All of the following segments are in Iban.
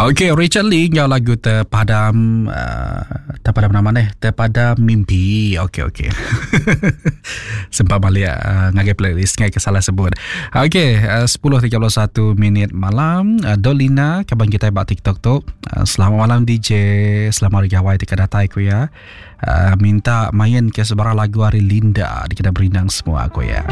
Okey, Richard Lee enggau lagu Terpadam uh, Terpadam nama ni? Terpadam Mimpi. Okey, okey. Sempat balik uh, ngagai playlist ngai ke salah sebut. Okey, uh, 10.31 minit malam. Uh, Dolina, kaban kita ba TikTok tu. Uh, selamat malam DJ, selamat hari gawai tika datai ku ya. Uh, minta main ke sebarang lagu hari Linda di kena berindang semua aku ya.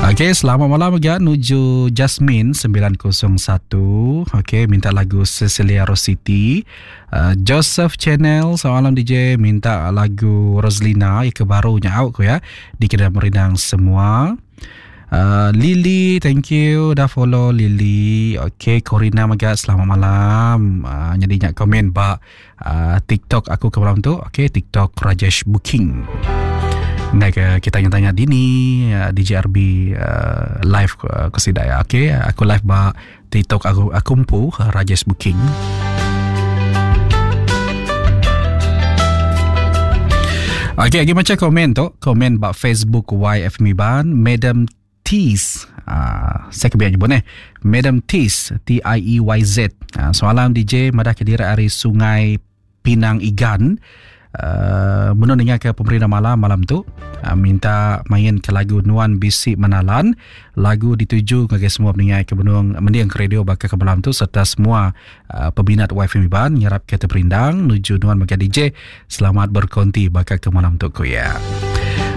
Okey, selamat malam juga nuju Jasmine 901. Okey, minta lagu Cecilia Rositi. Uh, Joseph Channel, selamat malam DJ, minta lagu Roslina yang barunya out aku ya. Di kena berindang semua. Uh, Lily, thank you dah follow Lily. Okay, Corina mega selamat malam. Uh, jadi nyak komen ba uh, TikTok aku ke malam tu. Okay, TikTok Rajesh Booking. Ngai ke kita yang tanya dini uh, DJRB uh, live uh, ke sida ya. Okay, aku live ba TikTok aku aku empu Rajesh Booking. Okey, lagi macam komen tu, komen ba Facebook YF Miban, Madam Tees. Uh, saya kebiak nyebut eh. Madam Tees, T I E Y Z. Uh, semalam DJ madah ke diri ari Sungai Pinang Igan. Uh, menung ninga ke pemerintah malam malam tu uh, minta main ke lagu Nuan Bisi Menalan lagu dituju ngagai semua peningai ke benung mending ke radio baka ke malam tu serta semua uh, peminat YFM Iban ngarap ke terperindang nuju Nuan mega DJ selamat berkonti baka ke malam tu ku ya.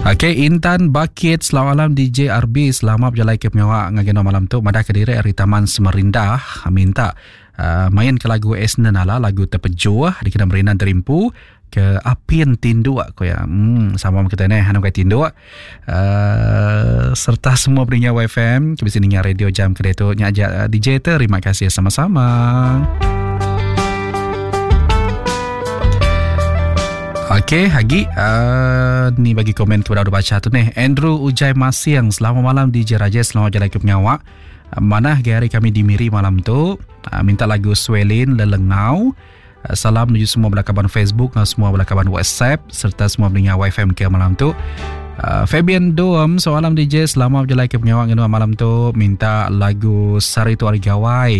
Okey, Intan Bakit, selamat malam DJ RB, selamat berjalai ke pengawa ngagai nuan malam tu madah ke diri ari Taman Semerindah minta Uh, main ke lagu Esna Nala lagu terpejuh dikena merinan terimpu ke apin tinduk aku ya. Hmm, sama kita ni hanu kai tinduk. Uh, serta semua pendengar YFM ke bisi ninga radio jam ke tu nya aja eh, DJ terima kasih sama-sama. Okey, hagi uh, ni bagi komen kepada udah baca tu ni. Andrew Ujai Masiang, selamat malam DJ Raja, selamat jalan ke pengawak. Manah agi hari kami di Miri malam tu. Ah, minta lagu Swelin Lelengau. Ah, salam menuju semua bala kaban Facebook dan semua bala kaban WhatsApp serta semua pendengar YFM ke malam tu. Uh, Fabian Doem, soalan DJ selama berjalan ke pengawak ngenua malam tu minta lagu Sari Tu Hari Gawai.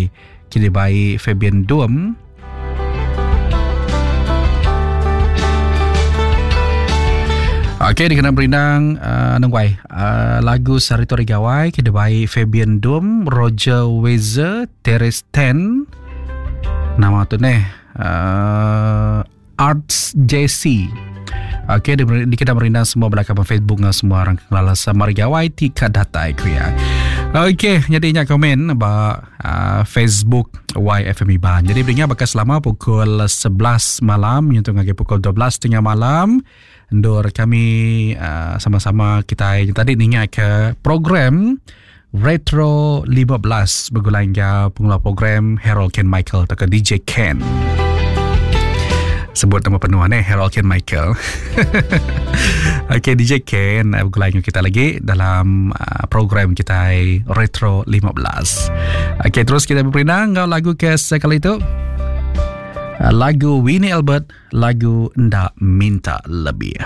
Kini baik Fabian Doem. Okey, dikena berindang uh, nengwai. Uh, lagu Sari Tori Gawai, kena baik Fabian Dum, Roger Wezer, Teres Ten. Nama tu ni uh, Arts JC. Okey, di, dikena merindang semua belakang Facebook dengan semua orang kelala Samari Gawai tika datai ku ya. Okey, jadi nya komen ba uh, Facebook YFM Iban. Jadi beringat bakal selama pukul 11 malam nyentuk ngagai pukul 12.30 malam. Endur kami uh, sama-sama kita tadi ninga ke program Retro 15 begulai enggau pengelola program Harold Ken Michael atau DJ Ken. Sebut nama penuh ni Harold Ken Michael. Okey DJ Ken eh, begulai enggau kita lagi dalam uh, program kita Retro 15. Okey terus kita berperindang enggau lagu ke sekali itu. Uh, lagu Winnie Albert, lagu Nda Minta Lebih.